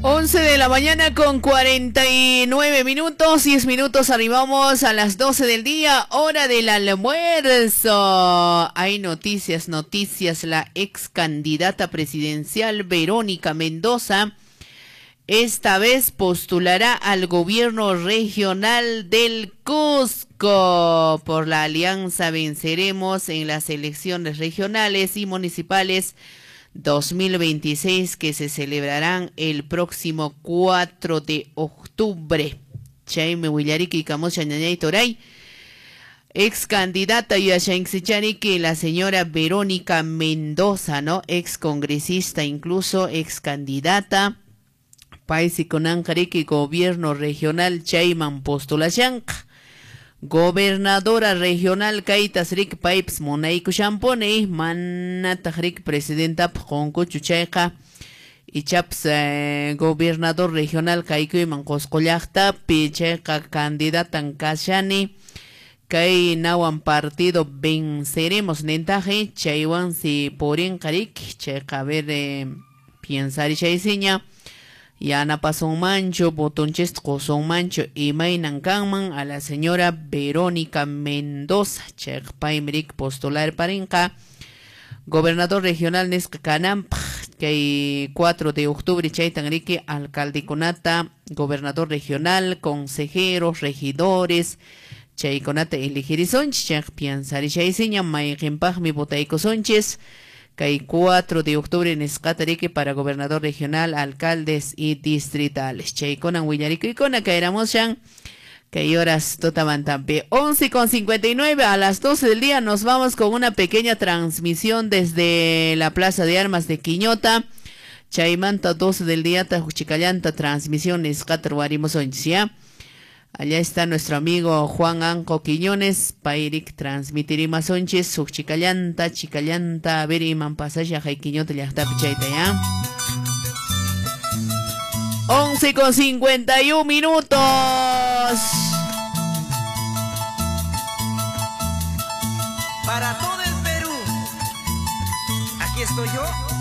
11 de la mañana con 49 minutos, 10 minutos, arribamos a las 12 del día, hora del almuerzo. Hay noticias, noticias. La ex candidata presidencial Verónica Mendoza esta vez postulará al gobierno regional del Cusco. Por la alianza Venceremos en las elecciones regionales y municipales 2026 que se celebrarán el próximo 4 de octubre. Chaymi willariki kamusha ñañay toray. Ex candidata yashanxichariki la señora Verónica Mendoza, ¿no? Ex congresista, incluso ex candidata. Paysi kunanqariki gobierno regional chayman postulashanqa. Gobernadora regional kaytas rik paypas munaykushanpuni, manataq rik presidentapaq qunkuchu chayqa ichapas gobernador regional kaykuyman Qusqu llaqtapi chayqa candidatan kashani kay nawan partido Venceremos nintaqi chaywansi purinqa rik chayqa a ver piensarishaysiña yanapasunmanchu votonchista qusunmanchu imaynan kanman a la señora Verónica Mendoza chayqa paymi rik postular parinqa gobernador regional nisqa kananpaq kay 4 de octubre chaytan riki alcaldekunata gobernador regional, consejeros, regidores chaykunata elegirisunchis chayqa piensarishaysiña mayqinpaqmi votaykusunchis kay 4 de octubre nisqata riki para gobernador regional, alcaldes y distritales. Chaykunan willarikuykuna kayramushan kay horas tutamantampi. 11:59 a las 12 del día nos vamos con una pequeña transmisión desde la Plaza de Armas de Quiñota. Chaymanta 12 del día tajuchicallanta transmisión nisqata ruwarimusunchis, ¿ya? Allá está nuestro amigo Juan Anco Quiñones, payrik transmitirimasunchis suk chicallanta, chicallanta, a ver iman pasasha hay Quiñota llaqtapi chayta, ¿ya? 11:51 minutos. Para todo el Perú, aquí estoy yo